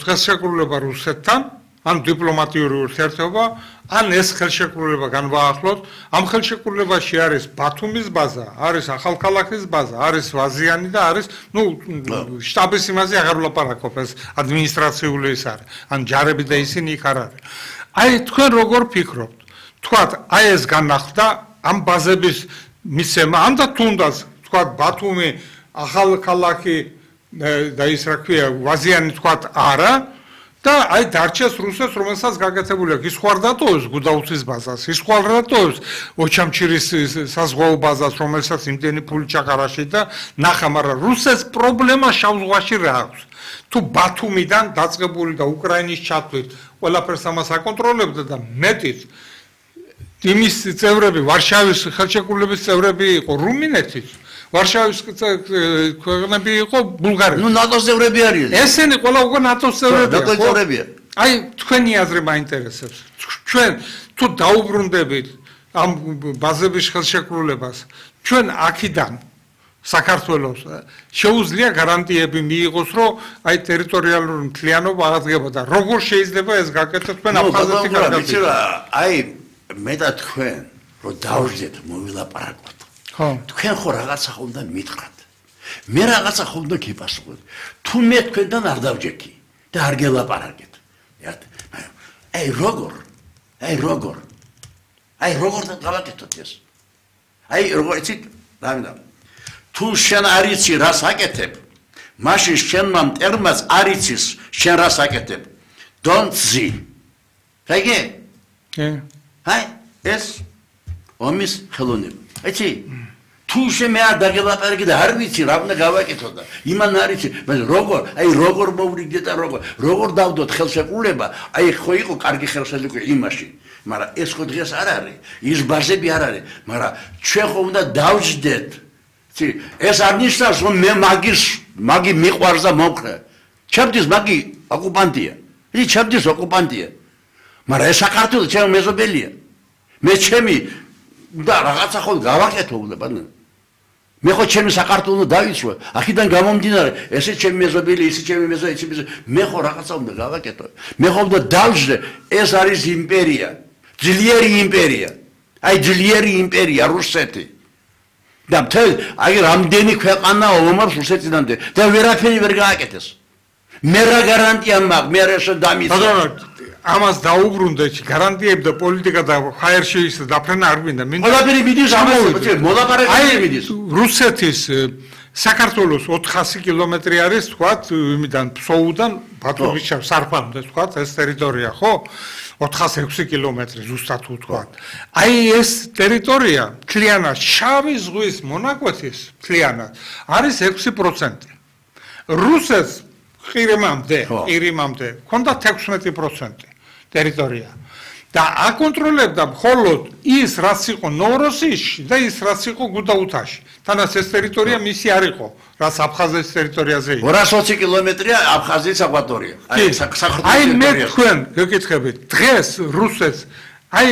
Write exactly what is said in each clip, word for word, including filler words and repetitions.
ხელშეკრულება რუსეთთან, ან დიპლომატიური ურთიერთობა, ან ეს ხელშეკრულება განვაახლოთ. ამ ხელშეკრულებაში არის ბათუმის ბაზა, არის ახალქალაქის ბაზა, არის ვაზიანი და არის, ну, შტაბის იმაზე აღარ ვლაპარაკობ, ეს ადმინისტრაციული ის არის, ან ჯარები და ისინი იქ არ არის. აი თქვენ როგორ ფიქრობთ? თქვათ, აი ეს განახლდა ამ ბაზების მიცემა, ან და თუნდაც თქვათ ბათუმი, ახალქალაქი და ის რა ქვია, ვაზიანი თქვათ არა. და აი დარჩეს რუსეთს, რომელსაც გაკეთებული აქვს. ის ხო არ დატოვებს გუდაუთის ბაზას, ის ხო არ დატოვებს ოჩამჩირის საზღვაო ბაზას, რომელსაც იმდენი ფული ჩაყარაში და ნახა, მაგრამ რუსეთს პრობლემა შავ ზღვაში რა აქვს. თუ ბათუმიდან დაწყებული და უკრაინის ჩათვლით ყველაფერს ამას აკონტროლებდა და მეტიც იმის წევრები, ვარშავის ხელშეკრულების წევრები იყო რუმინეთის, ვარშავის ქვეყნები იყო ბულგარეთი. ნუ ნატოს წევრები არიან. ესენი ყველა უკვე ნატოს წევრებია. ნატოს წევრებია. აი თქვენი აზრი მაინტერესებს. ჩვენ თუ დაუბრუნდებით ამ ბაზების ხელშეკრულებას, ჩვენ აქედან საქართველოს შეუძლია გარანტიები მიიღოს, რომ აი ტერიტორიალური მთლიანობა აღდგება და როგორ შეიძლება ეს გაკეთდეს თქვენ აფხაზეთი გარანტია. აი მე და თქვენ რომ დავждეთ მოვილაპარაკოთ. თქვენ ხო რაღაცა ხომ და მითხრათ. მე რაღაცა ხომ და გიპასუხოთ. თუ მე თქვენთან არ დავჯექი და არ გელაპარაკეთ. აი როგორ? აი როგორ? აი როგორ დავაკეთოთ ეს? აი როგორ იცით? დამინდა. თუ შენ არ იცი რას აკეთებ, მაშინ შენმა მტერმაც არ იცის შენ რას აკეთებ. Don't see. გაიგე? კი. აი ეს ომის ხელოვნება. იცი? თუ შემე არ დაგელაპარაკე და არ ვიცი რა უნდა გავაკეთო და იმან არ იცი, მაგრამ როგორ, აი როგორ მოვრიგდე და როგორ, როგორ დავდოთ ხელშეკრულება, აი ხო იყო კარგი ხელშეკრულება იმაში, მაგრამ ეს ხო დღეს არ არის, ის ბაზები არ არის, მაგრამ ჩვენ ხო უნდა დავждეთ. ცი, ეს არ ნიშნავს რომ მე მაგის, მაგი მიყვარს და მომხრე. ჩემთვის მაგი ოკუპანტია. ის ჩემთვის ოკუპანტია. მაგრამ ეს საქართველოს ჩემი მეზობელია. მე ჩემი და რაღაცა ხო გავაკეთო უნდა. მე ხო ჩემი საქართველოს დავიცვე, აქედან გამომდინარე, ესე ჩემი მეზობელი, ისე ჩემი მეზობელი, ისე მე ხო რაღაცა უნდა გავაკეთო. მე ხო უნდა დავждე, ეს არის იმპერია, ძლიერი იმპერია. აი ძლიერი იმპერია რუსეთი. და მთელ აი რამდენი ქვეყანა ომობს რუსეთიდან და ვერაფერი ვერ გააკეთეს. მე რა გარანტია მაქვს, მე რა შემდამიცე. ამას დაუბრუნდეთ, გარანტიები და პოლიტიკა და ჰაერში ის დაფრენა არ მინდა. ყველაფერი მიდის ამაზე, მოლაპარაკებები მიდის. რუსეთის საქართველოს ოთხასი კილომეტრი არის, თქვათ, იმიდან ფსოუდან ბათუმის სარფამდე, თქვათ, ეს ტერიტორია, ხო? ოთხასი ექვსი კილომეტრი ზუსტად ვთქვათ. აი ეს ტერიტორია მთლიანად შავი ზღვის მონაკვეთის მთლიანად არის ექვსი პროცენტი. რუსეთს ყირიმამდე, ყირიმამდე ჰქონდათ ექვსმეტი პროცენტი ტერიტორია. და აკონტროლებდა მხოლოდ ის, რაც იყო ნოვოროსიისში და ის, რაც იყო გუდაუთაში. თანაც ეს ტერიტორია მისი არ იყო, რაც აფხაზეთის ტერიტორიაზე იყო. ორას ოცი კილომეტრია აფხაზეთის აკვატორია. აი საქართველოს აი მე თქვენ გეკითხებით, დღეს რუსეთს აი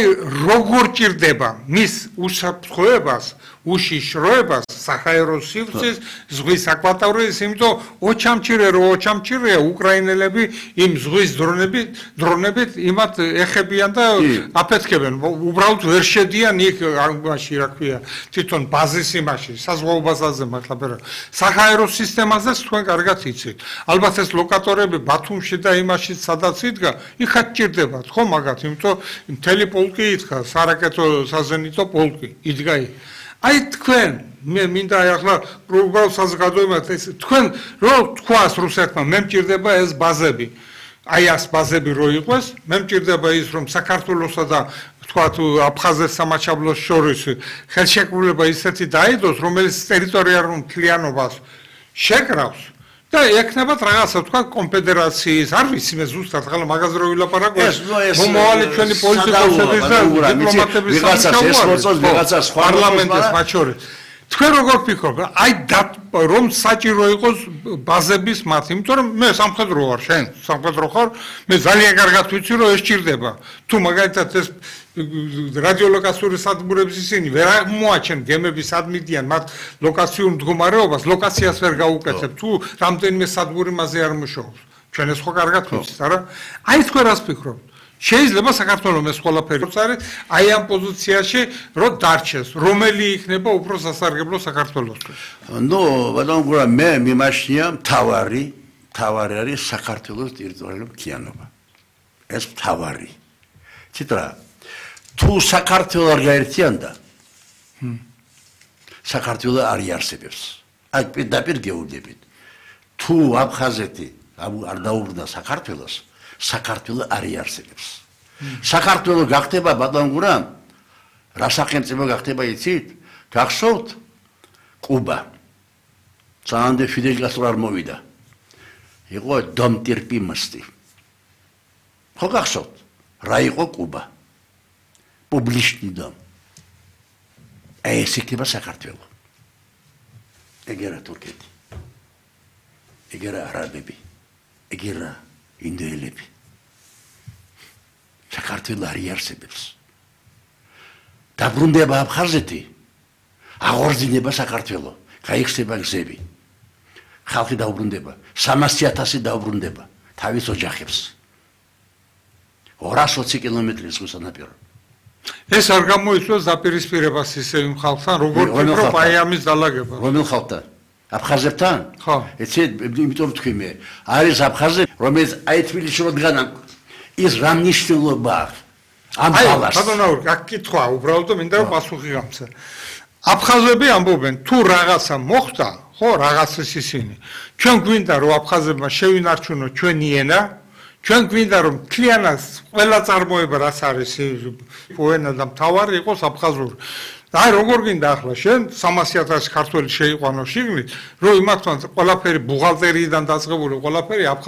როგორ ჭირდება მის უსაფრთხოებას, უშიშროებას, საჰაერო სივრცის, ზღვის აკვატორიის, იმიტომ ოჩამჩირე რო ოჩამჩირეა უკრაინელები იმ ზღვის დრონებით, დრონებით იმათ ეხებიან და აფეთქებენ. უბრალოდ ვერ შედიან იქ ამაში, რა ქვია, თვითონ ბაზის იმაში, საზღვაო ბაზაზე მართლა. საჰაერო სისტემაზეც თქვენ კარგად იცით. ალბათ ეს ლოკატორები ბათუმში და იმაში სადაც იდგა, იქაც ჭირდებათ, ხო მაგათ, იმიტომ მთელი პოლკი იდგა, სარაკეტო საზენიტო პოლკი იდგა იქ. აი თქვენ მე მინდა ახლა უბრალოდ საზოგადოებად ეს თქვენ რო თქვას რუსეთმა მე მჭირდება ეს ბაზები აი ეს ბაზები რო იყოს მე მჭირდება ის რომ საქართველოსა და თქვათ აფხაზეთ სამაჩაბლოს შორის ხელშეკრულება ისეთი დაიდოს რომელიც ტერიტორიულ მთლიანობას შეკრავს და ეკნებათ რაღაცა თქვა კონფედერაციის არ ვიცი მე ზუსტად ახლა მაგაზე რო ვილაპარაკო მომავალი ჩვენი პოლიტიკოსების და დიპლომატების ვიღაცას ეს მოწოს ვიღაცას სხვა პარლამენტის მათ შორის თქვენ როგორ ფიქრობთ აი რომ საჭირო იყოს ბაზების მათ იმიტომ რომ მე სამხედრო ვარ შენ სამხედრო ხარ მე ძალიან კარგად ვიცი რომ ეს ჭირდება თუ მაგალითად ეს რადიოლოკაციური სადგურების ისინი ვერ აღმოაჩენ გემები სად მიდიან მათ ლოკაციურ მდგომარეობას ლოკაციას ვერ გაუკეთებ თუ რამდენიმე სადგური მასზე არ მუშაობს ჩვენ ეს ხო კარგად ვიცით, არა? აი თქვენ რას ფიქრობთ? შეიძლება საქართველოს ეს ყველაფერი არის, აი ამ პოზიციაში რო დარჩეს, რომელი იქნება უფრო სასარგებლო საქართველოსთვის? ნუ, ბატონო გურა, მე მიმაშნია მთავარი, მთავარი არის საქართველოს ტერიტორიული მთლიანობა. ეს მთავარი. ციტა, თუ საქართველო არ გაერთიანდა, საქართველო არ იარსებებს. აი პირდაპირ გეუბნებით. თუ აფხაზეთი არ დაუბრუნდა საქართველოს, საქართველო არ იარსებებს. საქართველო გახდება ბატონ გურა, რა სახელმწიფო გახდება იცით? გახსოვთ? კუბა. სანამდე ფიდელ კასტრო არ მოვიდა. იყო დომ ტერპიმასტი. ხო გახსოვთ? რა იყო კუბა? პუბლიშნი დომ. ეს იქნება საქართველო. ეგერა თურქეთი. ეგერა არაბები. ეგერა ინდოელები. საქართველო არ იარსებებს. დაბრუნდება აფხაზეთი, აღორძინება საქართველო, გაიხსნება გზები. ხალხი დაუბრუნდება, სამასი ათასი დაუბრუნდება თავის ოჯახებს. ორას ოცი კილომეტრი ზღვის სანაპირო. ეს არ გამოიწვევს დაპირისპირებას ისე იმ ხალხთან, როგორც ფიქრობ აი ამის დალაგება. რომელ ხალხთან? აფხაზებთან? ხო. ეცე იმიტომ თქვი მე, არის აფხაზები, რომელიც აი თბილისში როდგან ის რა მნიშვნელობა აქვს ამ ხალხს? აი, ბატონო, აქ კითხვა უბრალოდ მინდა რომ პასუხი გამცა. აფხაზები ამბობენ, თუ რაღაცა მოხდა, ხო, რაღაცას ისინი. ჩვენ გვინდა რომ აფხაზებმა შევინარჩუნოთ ჩვენი ენა, ჩვენ გვინდა რომ მთლიანად ყველა წარმოება რაც არის პოენა და მთავარი იყოს აფხაზური. აი როგორ გინდა ახლა შენ სამასი ათასი ქართველი შეიყვანო შიგნით, რომ იმათთან ყველაფერი ბუღალტერიიდან დაწყებული ყველაფერი აფხაზ